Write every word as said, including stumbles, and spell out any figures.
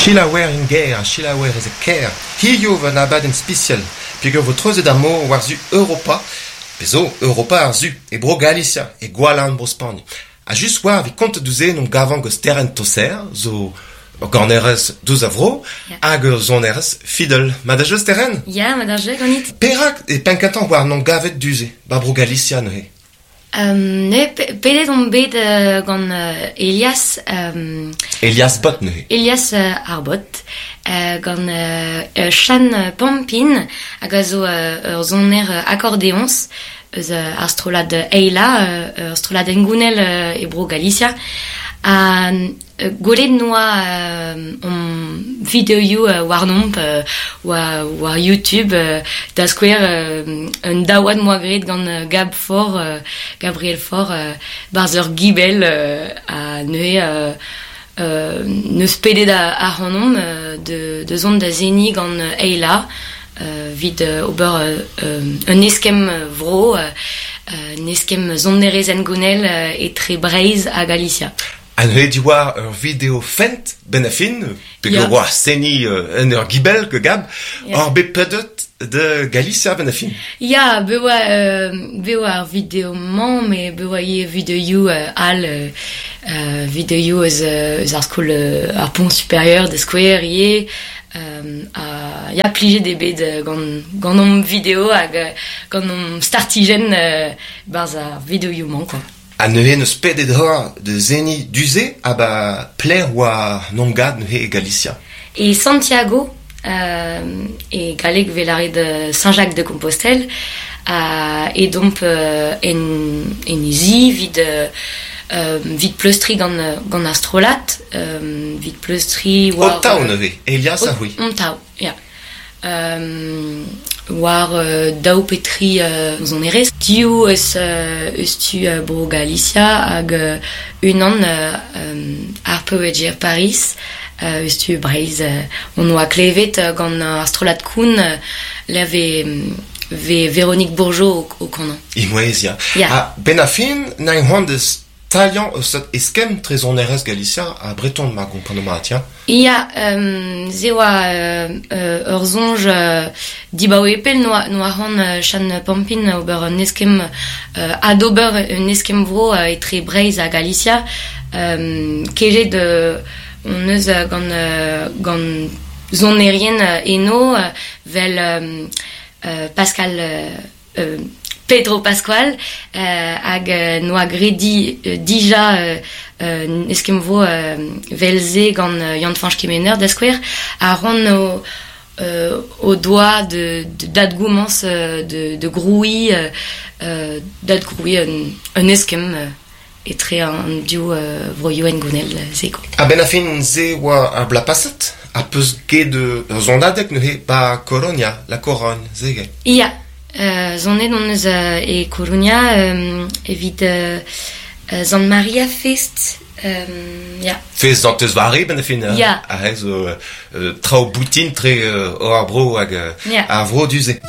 Selaouer en gêr ha selaouer ez e kêr. Hiziv un abadenn spesial peogwir vo treuzet ar mor war-zu Europa, pe zo Europa ar Su, e Bro-Galisia, e Gwalarn Bro-Spagn. Ha just war evit kontet deus en omp gavan gant Sterenn Tosser, zo ur ganerez deus a vro, Ya. hag ur sonerez fiddle. Mat da jeu Sterenn? Ya, mat da jeu ganit. Perak e penn-kentañ war n'omp gavet du-se, ba Bro-Galisia neuze? Um, ne, pe- pedet on bet euh, gant euh, Elias... Um, Elias Bot neuze. Elias euh, ar Bot, euh, gant euh, euh, Chan Pampin, hag a zo euh, ur soner euh, akordéons, eus euh, ar strollad Eila, euh, ur strollad engounel euh, e bro Galicia. Ha euh, gwelet noa euh, on videoioù euh, warnomp euh, war, war YouTube euh, da skouer euh, un daouad moa graet gant euh, Gab Faure, euh, Gabriel Faure, euh, barzh ur gibell euh, a neuze euh, euh, neus pedet a, a c'hanomp euh, de, de zont da zeni gant euh, Eila euh, vid euh, ober euh, euh, un eskemm vro, euh, un eskemm sonerezh engounel euh, etre Breizh ha Galicia. Ha neuze diwar ur video fent ben a fin, pe Ya. war seni euh, en ur gibell ke Gab, Ya. ur bet pedet de Galicia ben a fin. Ya, be oa, euh, be oa ar video-mañ, met be oa ivez videoioù euh, all, euh, euh, videoioù eus, euh, eus ar skol euh, ar pont supérieur da skouer ivez, euh, ha ya plijet eo bet euh, gant, gant hom video hag euh, gant hom startijenn euh, barzh ar videoioù-mañ, quoi. Ha neuze neus pedet hor de zeni du-se ha ba pler oa n'omp gad neuze e Galicia. E Santiago, euh, e galleg 'vez lâret euh, Saint-Jacques de Compostelle, ha edomp euh, en, en e zi 'vit, euh, euh, 'vit pleustriñ gant, euh, gant ar strollad, euh, 'vit pleustriñ war... O taou neuze, Elias ha c'hwi. On taou, ya. Euh, war euh, daou pe tri euh, sonerez. Div eus, euh, eus tu euh, bro Galicia hag euh, unan euh, euh, ar Peweger Paris euh, eus tu Breizh. Euh, on oa klevet euh, gant ar strollad Koun euh, la ve, ve Véronique Bourgeot o, o kanañ. Imouez, ya. Ya. Ha ben a fin, na c'hoant deus talian eus ur eskemm tre sonerezh Galicia ha Breton ma gompreno mat, ya. Ya, euh, ze oa euh, euh, ur soñj euh, dibaoe pell noa, noa c'hoant euh, Chan Pampin ober un eskemm euh, adober un eskemm vro euh, etre Breizh ha Galicia. Euh, kejet euh, on eus euh, gant, euh, gant sonerien euh, eno euh, vel euh, euh, Pascal euh, euh, Pedro Pascual euh, hag euh, noa graet di, euh, dija euh, euh, eskemm vro euh, vel-se gant euh, Yann-Fañch Kemener da skouer ha c'hoant o, euh, o doa de, de d'adgomañs euh, de, de grouiñ euh, euh, d'adgrouiñ un, un eskemm euh, etre an div euh, vroioù engounel euh, se quoi. Ha ben a fin ze oa ar bloaz paset, ha peus get ur sonadeg neuze ba Coronia, la Corogne, ze get. Ya, euh, sonet on eus euh, e Coruña euh, evit euh, euh, Sant Maria Fest euh, ya. Fest Santez Vari ben a fin, Ya. Ha zo euh, traoù boutin tre euh, ar bro hag euh, Ya. ar vro du-se.